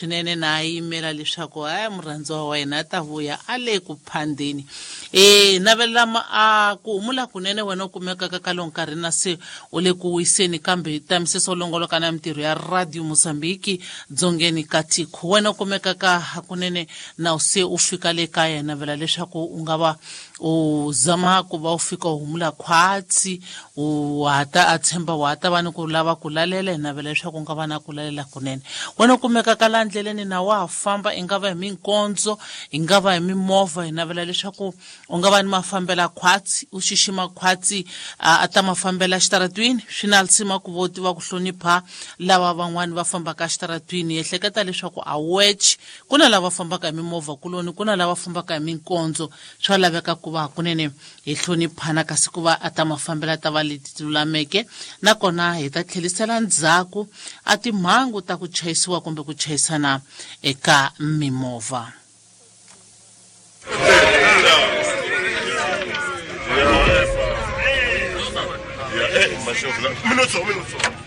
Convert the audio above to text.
Swinene na yimela leswaku haya murhandziwa wa yena a ta vuya a le ku phandeni. E navelela a ku humula kunene wena u kumekaka ka lowu nkarhi na se u le ku wiseni, kambe tamisisa u longoloka na mintirho ya Radio Mozambique dzongeni ka tiko. Wena u kumekaka hakunene na u se u fika le kaya, navela leswaku u nga va u zama ku va u fika u humula khwatsi, u hata a tshemba wa ta va ni ku lava ku lalela. Hi navela leswaku u nga va na ku lalela kunene. Wena u kumekaka laha ndleleni na wa ha famba, i nga va hi minkondzo, i nga va hi mimovha, hi navela leswaku u nga va ni mafambela khwatsi, u xixima khwatsi a ta mafambela xitaratwini. Swi na lisima ku vo tiva ku hlonipha lava van'wani va fambaka xitaratwini. Ehleketa leswaku a wech ku na lava fambaka hi mimovha kuloni, ku na lava fambaka hi minkondzo. Swa laveka ku va hakunene hi hloniphana, kasi ku va a ta mafambela ta va leti ti lulameke, nakona hi ta tlherisela ndzhaku a timhangu ta ku chayisiwa kumbe ku chayisana eka mimovha. Minuto, minuto.